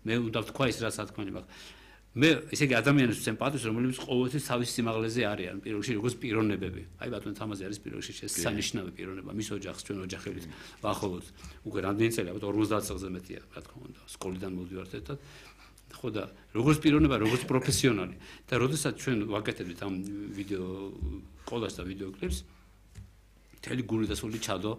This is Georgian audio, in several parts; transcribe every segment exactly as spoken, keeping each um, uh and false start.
მე უნდა ვთქვა ის რაც თქვენი მაქვს მე ესე იგი ადამიანებს ვცემ პატივს რომელიც ყოველთვის თავის სიმაღლეზე არიან პირველ რიგში როგორც პიროვნებები აი ბატონ თამაზი არის პირველ რიგში შესანიშნავი პიროვნება მის ოჯახს ჩვენ ოჯახებით ვახოლოთ უკვე რამდენი წელი ალბათ ორმოცდაათ წელზე მეტია რა თქმა უნდა სკოლიდან მოვდივართ ერთად ხო და როგორც პიროვნება როგორც პროფესიონალი და როდესაც ჩვენ ვაკეთებთ ამ ვიდეო კოლაჟს და ვიდეო კლიპს მთელი გული და სული ჩადო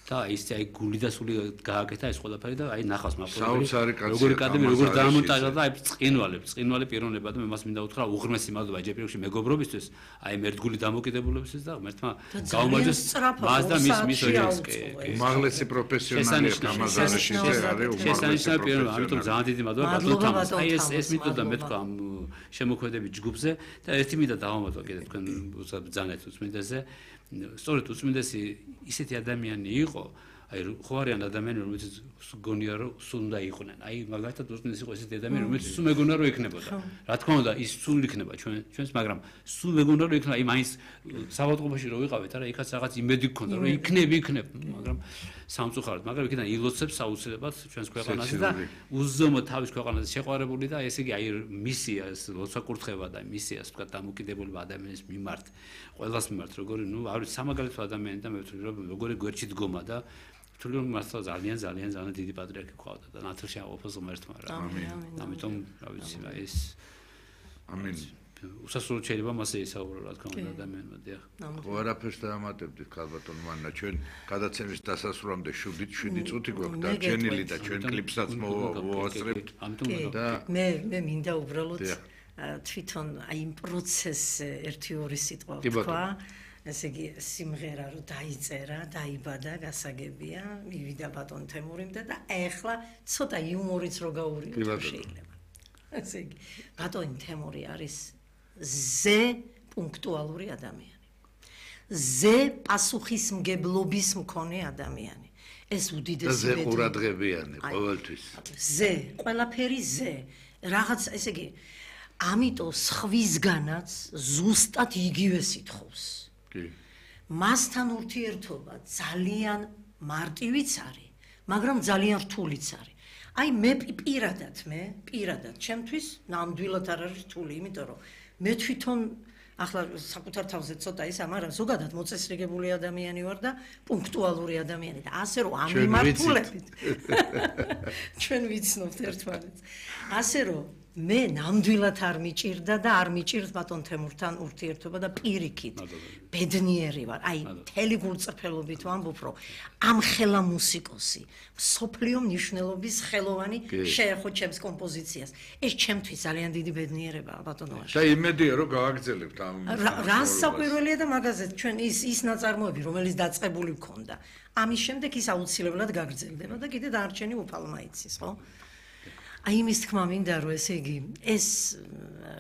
და ის აი გული და სული გააკეთა ეს ყველაფერი და აი ნახავს მაფრონტი როგორი კადები როგორ დაამონტაჟა და აი წინვალებ წინვალე პიროვნება და მე მას მინდა უთხრა უღრმესი მადლობა ჯერ პირველში მეგობრობისთვის აი მერდგული დამოკიდებულებისთვის და ღმერთმა გაუმარჯოს მას და მის მის ოჯახს უმაღლესი პროფესიონალი გამაზანაში არის შესანიშნავი პიროვნება ამიტომ ძალიან დიდი მადლობა ბატონ თამაზ აი ეს ეს მითოდა მე თქვა ამ შემოქმედების ჯგუფზე და ერთი მინდა დავამატო კიდე თქვენ ბრძანეთ უწმინდესზე სწორედ უწმინდესი ისეთი ადამიანი იყო აი ხო არიან ადამიანები რომელიც გონია რომ სულ უნდა იყვნენ აი მაგალითად უწმინდესი იყო ესეთი ადამიანი რომელიც სულ მეგონა რომ იქნებოდა რა თქმა უნდა ის სულ იქნება ჩვენ ჩვენს მაგრამ სულ მეგონა რომ იქნება აი მაინც საავადმყოფოში რო ვიყავით არა იქაც რაღაც იმედი გქონდა რომ იქნები იქნებ მაგრამ სამწუხაროდ მაგრამ იქიდან ილოცებს აუცილებლად ჩვენს ქვეყანაზე და უზომოდ თავის ქვეყანაზე შეყვარებული და ესე იგი აი მისიას ლოცვა-კურთხევა და მისიას თქვა დამოკიდებულება ადამიანის მიმართ ყველას მიმართ როგორი ნუ არის სამაგალითო ადამიანი და მე ვთვლი რომ როგორი გვერდში დგომა და ვთვლი რომ მართლა ძალიან ძალიან ძალიან დიდი პატრიარქი ყავდა და ნათელში აყოფოს ღმერთმა რა ამიტომ რა ვიცი რა ეს ამინ უსასრულოდ შეიძლება მასე ისაუბრა რა თქმა უნდა ადამიანმა დიახ ხო არაფერს დაამატებდით ქალბატონ მანნა ჩვენ გადაცემის დასასრულამდე შვიდი წუთი გვაქვს დარჩენილი და ჩვენ კლიპსაც მოვასწრებთ და მე მე მინდა უბრალოდ თვითონ აი იმ პროცესზე ერთი ორი სიტყვა ვთქვა ესე იგი სიმღერა რო დაიწერა დაიბადა გასაგებია მივიდა ბატონ თემურიმდა და ეხლა ცოტა იუმორიც რო გაურიოთ შეიძლება ესე იგი ბატონ თემური არის ზე პუნქტუალური ადამიანი ზე პასუხისმგებლობის მქონე ადამიანი ეს უდიდესი ზე ყურადღებიანი ყოველთვის ზე ყველაფერი ზე რაღაც ესე იგი ამიტომ სხვისგანაც ზუსტად იგივე სიტყვის კი მასთან ურთიერთობა ძალიან მარტივიც არის მაგრამ ძალიან რთულიც არის აი მე პირადად მე პირადად ჩემთვის ნამდვილად არ არის რთული იმიტომ რომ მე თვითონ ახლა საკუთარ თავზე ცოტა ისა მაგრამ ზოგადად მოწესრიგებული ადამიანი ვარ და პუნქტუალური ადამიანი და ასე რომ ამ მიმართულებით ჩვენ ვიცნობთ ერთმანეთს ასე რომ მე ნამდვილად არ მიჭირდა და არ მიჭირს ბატონ თემურთან ურთიერთობა და პირიქით ბედნიერი ვარ აი მთელი გულწრფელობით ვამბობ რომ ამ ხელა მუსიკოსი სოფლიო მნიშვნელობის ხელოვანი შეეხო ჩემს კომპოზიციას ეს ჩემთვის ძალიან დიდი ბედნიერებაა ბატონო და იმედია რომ გააგრძელებთ ამ რას საკვირველია და მაგაზე ჩვენ ის ის ნაწარმოები რომელიც დაწყებული მქონდა ამის შემდეგ ის აუცილებლად გაგრძელდება და კიდე დარჩენი უფალმა იცის ხო აი იმის თქმა მინდა რომ ესე იგი ეს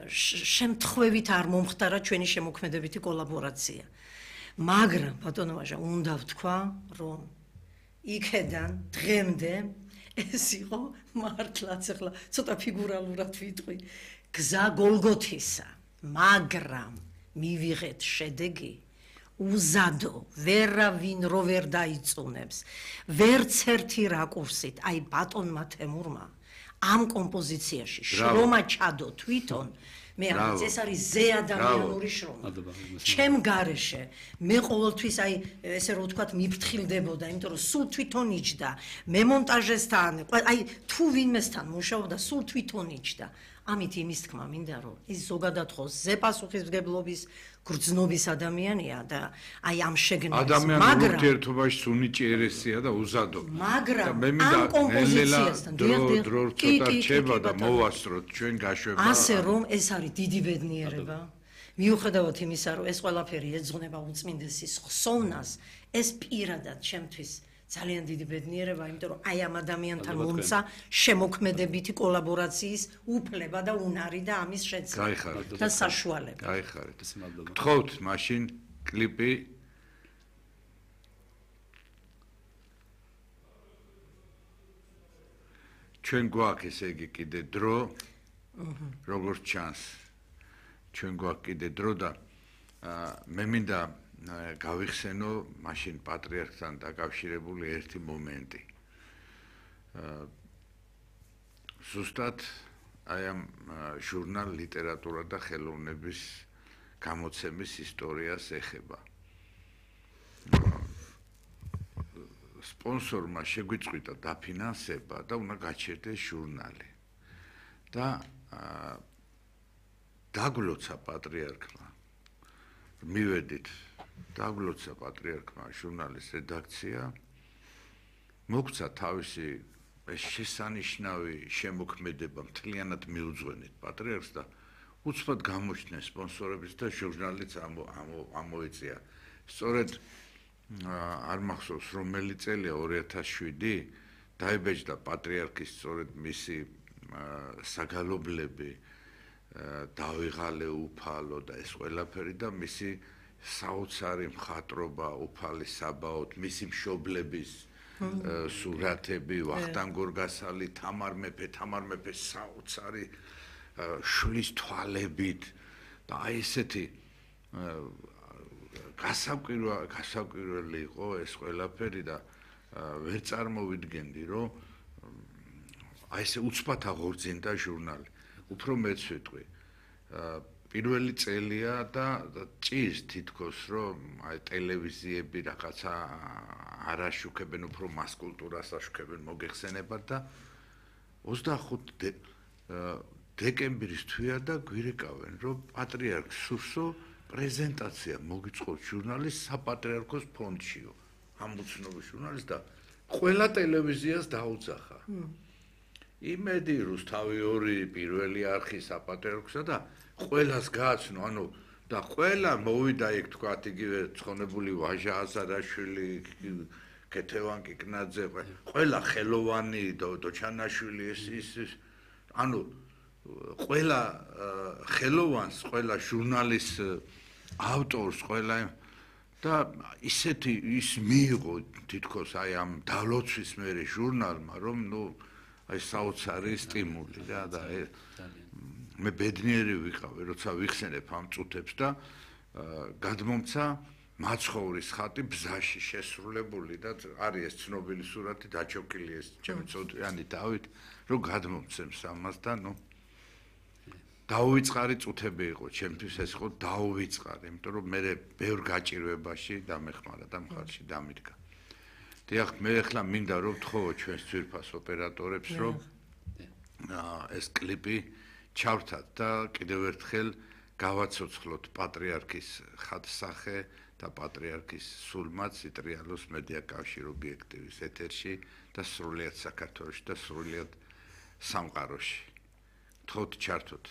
შემთხვევით არ მომხდარა ჩვენი შემოქმედებითი კოლაბორაცია მაგრამ ბატონო ვაჟა უნდა ვთქვა რომ იქედან დღემდე ეს იყო მართლაც ახლა ცოტა ფიგურალურად ვიტყვი გზა გოლგოთისა მაგრამ მივიღეთ შედეგი უზადო ვერავინ რო ვერ დაიწუნებს ვერც ერთი რაკურსით აი ბატონმა თემურმა ამ კომპოზიციაში შრომა ჩადო თვითონ მე ამაც ეს არის ზე ადამიანური შრომა ჩემ გარეშე მე ყოველთვის აი ესე რომ ვთქვათ მიფრთხილდებოდა იმიტომ რომ სულ თვითონ იჯდა მე მონტაჟესთან აი თუ ვინმესთან მუშაობდა სულ თვითონ იჯდა ამით იმის თქმა მინდა რომ ის ზოგადად ხო ზე პასუხისმგებლობის გრძნობის ადამიანია და აი ამ შეგნას ადამიანურ ურთიერთობაში უნიჭიერესია და უზადო მაგრამ ამ კომპოზიციასთან დრო დრო ცოტა რჩება და მოვასწროთ ჩვენ გაშვება ასე რომ ეს არის დიდი ბედნიერება მიუხედავად იმისა რომ ეს ყველაფერი ეძღვნება უწმინდესის ხსოვნას ეს პირადად ჩემთვის ძალიან დიდი ბედნიერება, იმიტომ რომ აი ამ ადამიანთან მომცა შემოქმედებითი კოლაბორაციის უფლება და უნარი და ამის შეცდომა და საშუალება. გაიხარეთ. გთხოვთ მაშინ კლიპი ჩვენ გვაქვს ესე იგი კიდე დრო როგორც ჩანს ჩვენ გვაქვს კიდე დრო და მე მინდა გავიხსენო მაშინ პატრიარქთან დაკავშირებული ერთი მომენტი. ზუსტად აი ამ ჟურნალ ლიტერატურა და ხელოვნების გამოცემის ისტორიას ეხება. სპონსორმა შეგვიწყვიტა დაფინანსება და უნდა გაჩერდეს ჟურნალი. და დაგლოცა პატრიარქმა. მივედით, დაგლოცა პატრიარქმა ჟურნალის რედაქცია. მოგცა თავისი ეს შესანიშნავი შემოქმედება მთლიანად მიუძღვენით პატრიარქს და უცბად გამოჩნდნენ სპონსორების და ჟურნალიც ამოიწია. სწორედ არ მახსოვს რომელი წელია ორი ათას შვიდი დაიბეჭდა პატრიარქის სწორედ მისი საგალობლები დავიღალე უფალო და ეს ყველაფერი და მისი საოცარი მხატვრობა უფალი საბაოდ მისი მშობლების სურათები ვახტანგ გორგასალი თამარ მეფე თამარ მეფე საოცარი შლის თვალებით და აი ესეთი გასაკვირველი გასაკვირველი იყო ეს ყველაფერი და ვერ წარმოვიდგენდი რომ აი ესე უცბად აღორძინდა ჟურნალი. უფრო მეც ვიტყვი. პირველი წელია და ჭირს თითქოს რომ აი ტელევიზიები რაღაცა არ აშუქებენ, უფრო მას კულტურას აშუქებენ, მოგეხსენებათ და ოცდახუთი დეკემბრის თვეა და გვირეკავენ რომ პატრიარქ სურსო პრეზენტაცია მოგიწყოთ ჟურნალის საპატრიარქოს ფონდშიო. ამბუცნობის ჟურნალის და ყველა ტელევიზიას დაუძახა. იმედი რუსთავი ორი პირველი არხი საპატრიარქოსა და ყველას გააცნო, ანუ და ყველა მოვიდა იქ თქვათ იგივე ცხონებული ვაჟა აზარაშვილი, კეთევან კიკნაძე, ყველა ხელოვანი დოჩანაშვილი ეს ის ანუ ყველა ხელოვანს, ყველა ჟურნალის ავტორს, ყველა და ისეთი ის მიიღო თითქოს აი ამ დალოცვის მერე ჟურნალმა, რომ ნუ აი საოცარი სტიმული რა და მე ბედნიერი ვიყავი, როცა ვიხსენებ ამ წუთებს და გადმომცა მაცხოვრის ხატი ბზაში შესრულებული და არის ეს ცნობილი სურათი დაჩოქილი ეს ჩემი წოდიანი დავით, რომ გადმომცემს ამას და ნუ დაუვიწყარი წუთები იყო ჩემთვის ეს იყო დაუვიწყარი, იმიტომ რომ მე ბევრ გაჭირვებაში დამეხმარა და მხარში დამიდგა. დიახ, მე ახლა მინდა რომ ვთხოვო ჩვენს ძვირფას ოპერატორებს, რომ ეს კლიპი ჩავრთათ და კიდევ ერთხელ გავაცოცხლოთ პატრიარქის ხატსახე და პატრიარქის სულმაც იტრიალოს მედია კავშირ ობიექტივის ეთერში და სრულიად საქართველოში და სრულიად სამყაროში. თხოვთ ჩართოთ.